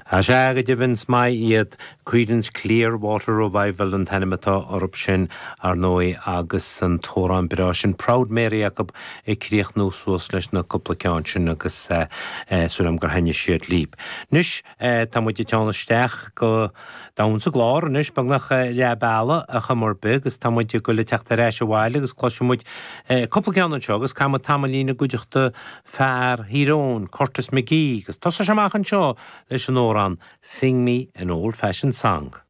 Sea, go deimhin, is maith iad. Creedence Clearwater Revival an t-ainm atá orthu sin, ar ndóigh, agus an t-amhrán breá sin Proud Mary acu ag críochnú suas leis na cúpla ceann sin agus súil agam gur thaitnigh siad libh. Anois, tá muid ag teann isteach go domhan sa gclár anois, beagnach leath bealaigh ar chuma ar bith agus tá muid ag goil ag teacht ar ais abhaile agus cloisfidh muid cúpla ceann anseo agus caithfidh muid tamaillín i gcuideachta fear Thír Eoghain, Curtis McGee, agus tosóidh sé amach anseo leis an amhrán Sing Me an Old Fashioned Song.